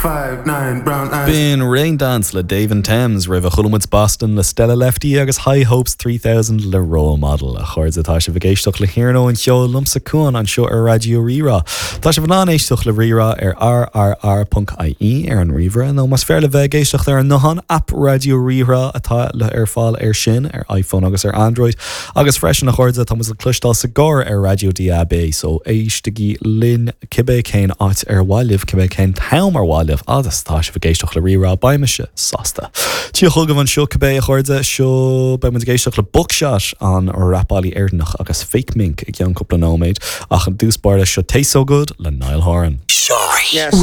B'in Raindance le Dave and Thames roimhe chuala muid Boston le Stella Lefty agus High Hopes 3000 le Role Model. A chairde tá sibh ag éisteacht le hiarnóin an Cheoil liomsa Cuan anseo ar Raidió Rí-Rá. Tá sibh in ann éisteacht le Rí-Rá ar rrr.ie ar an ríomhaire nó más fearr libh bheith ag éisteacht ar an nguthán, aip Raidió Rí-Rá atá le ar fáil air sin ar iPhone agus ar Android. Agus freisin a chairde tá muid le cloisteáil sa gcarr ar Raidió DAB so éistigí linn cibé cén áit ar mhaith libh, cibé cén t-am ar mhaith libh, fhad is atá sibh ag éisteacht le Rí-Rá, beidh mise sásta. Tíocht chugaibh anseo cibé, a chairde, seo, beidh muid ag éisteacht le Buckshot, an rapálaí Éireannach, agus Fake Mink i gceann cúpla nóiméad, ach i dtús báire, seo Taste So Good le Niall Horan. Yes.